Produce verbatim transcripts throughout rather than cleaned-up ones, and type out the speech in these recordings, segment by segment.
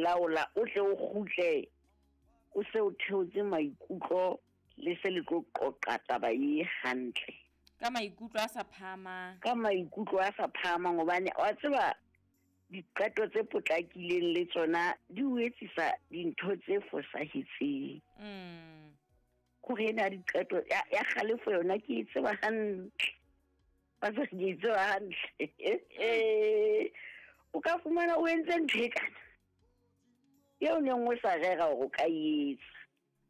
laola, o tle o kgutle o se o theotse maikutlo le se le tlo qoqa taba e hantle. Ka maikutlo a sa phahamang. Ka maikutlo a sa phahamang hobane wa tseba diqeto tse potlakileng le tsona di o etsisa dintho tse fosahetseng. Mm. Kore ena diqeto ya ya kgalefo yona ke e tseba hantle. Ba se ke e tseba hantle. O ka fumana o entse ntho e kana eo neng o sa rera hore o ka e etsa.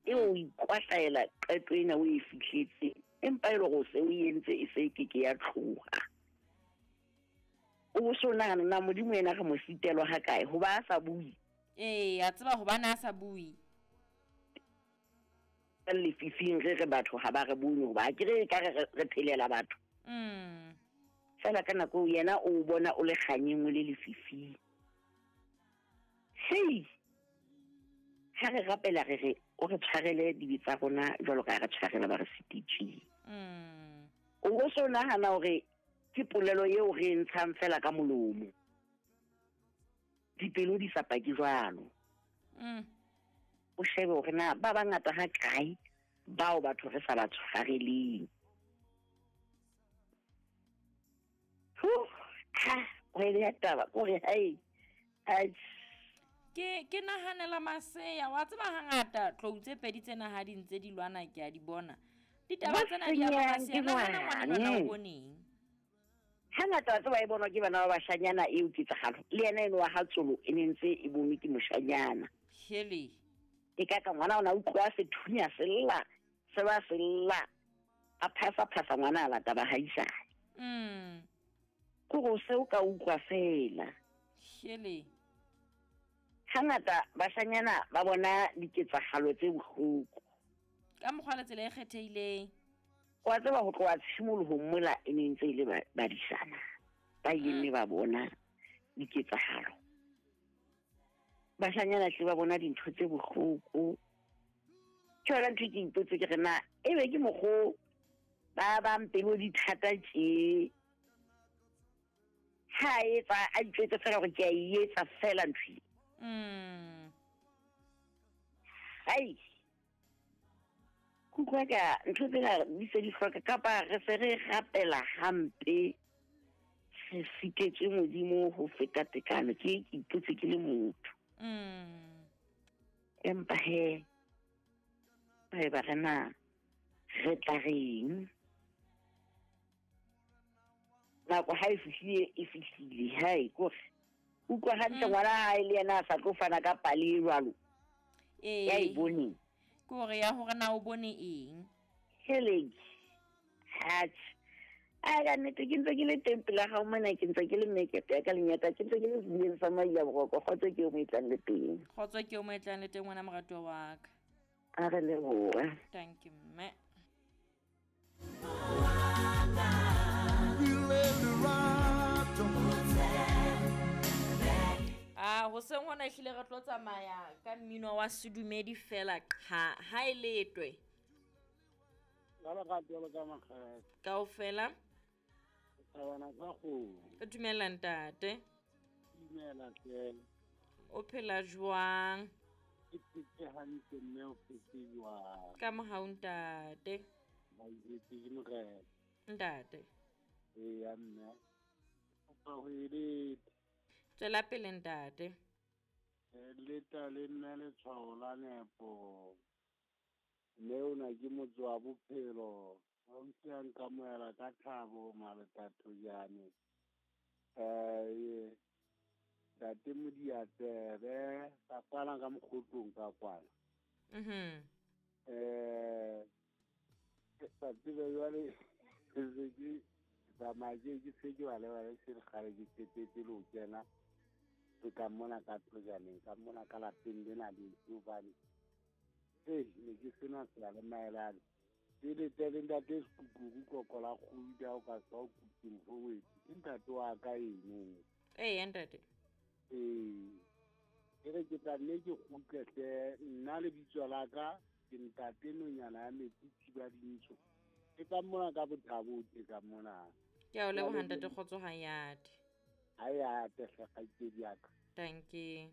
Eo o ikwahlaela qeto ena o e fihletseng, empa e le hore o se o entse e se ke ke ya tloha. O so nahana na Modimo yena re mo sitelwa ha kae hoba a sa bue. Ee, a tseba hobane a sa bue. Lefifing re re batho ha ba re bone hoba ke re ka re re phelela batho. Mm. Fela ka nako yena o bona o le kganyeng o le lefifing. Hei! Ha re rapela re re o re tshwarele dibe tsa rona jwalo ka re tshwarela ba re sititsweng. Mm. O so nahana hore ke polelo eo re ntshang fela ka molomo. Dipelo di sa pake jwalo. Mm. O shebe hore na ba bangata ha kae bao batho re sa ba tshwareleng. Huh, ha, o ile taba kore hai. Ai. Ke ke nahanela maseya wa tseba hangata tlou tse pedi tsena ha di ntse di lwana ke a di bona. Ditaba tsena di a ba maseya nahana ngwana lwana o boneng. Hangata wa tseba e bonwa ke bana ba bashanyana eo ketsahalo. Le yena eno wa ha Tsolo e ne ntse e bonwe ke moshanyana. Hele. E ka ka ngwana ona utlwa sethunya se lla, se ba se lla. A phasa phasa ngwana a lata ba haisana. Mm. Kore o se o ka utlwa fela. Hele. Hangata bashanyana ba bona diketsahalo tse bohloko. Ka mokgwa le tsela e kgethehileng. Wa tseba ho tloha tshimolohong mola e ne ntse e le badisana. Ba ileng ba bona diketsahalo. Bashanyana tle ba bona dintho tse bohloko. Ke yona ntho ke ipotse ke re na ebe ke mokgo ba bang pelo di thata tje. Ha etsa a itjwetse fela hore ke a e etsa fela ntho e. Mm. Ai. Kutlwa ka ntho tsena di se di hloka kapa re se re rapela hampe. Re sitetswe Modimo ho feta tekano ke ke ipotse ke le motho. Mm. Empa he ba re na re tla reng? Nako ha e fihlile e fihlile hai kore utlwa hantle ngwana hae le yena a sa tlo fana ka pale e jwalo. Ee. Ya e boneng. Ke hore ya hore na o bone eng? Heleng. Hatjhe. Ai ka nnete ke ntse ke le teng pela hao mona ke ntse ke le mekete ya ka lenyata ke ntse ke le sedibeng sa Maila Boroko. Kgotso ke o mo etlang le teng. Kgotso ke o mo etlang le teng ngwana moratuwa wa ka. A re leboha. Thank you mme. Ah, hoseng hona ehlile re tlo tsamaya ka mmino wa sedumedi fela qha ha e letwe. La ba ka tlo ka makgele. Kaofela. Thabana ka go. Dumela ntate. Dumela tle. O phela jwang? Ke phetse hantle mme o phetse jwang? Ka mohau ntate. Ba itse ke morena. Ntate. Ee ya mme. O ka ho eleta. Tswela pele ntate. Leta le nna letshwao la nepo. Mme ona ke motse wa bophelo. Ha o se a nkamohela ka thabo maletathojane. Eh Ntate Modiatsebe ka kwana ka mokgotlong ka kwana. Mhm. Eh sa tsebe jwale se ke tsamaya ke se ke wa lebala se re kgale ke qetetse le ho kena. Ke ka mona ka tlojaneng ka mona ka lapeng lena le hobane eh ne ke sena tsela le maelane. Ke le tele ntate Sekukuru koko la kguda o ka tswa o kutung fowetsi. Ke ntate wa ka eno. Ee ntate. Ee. Ke re ke tla nne ke kgutle hle nna lebitso la ka ke ntate Nonyana ya Metsi Thiba Dintsho. Ke ka mona ka bothabo ke ka mona. Ke a o leboha ntate Kgotso Hayate. Hayate hle kgaitsedi ya ka. Thank you.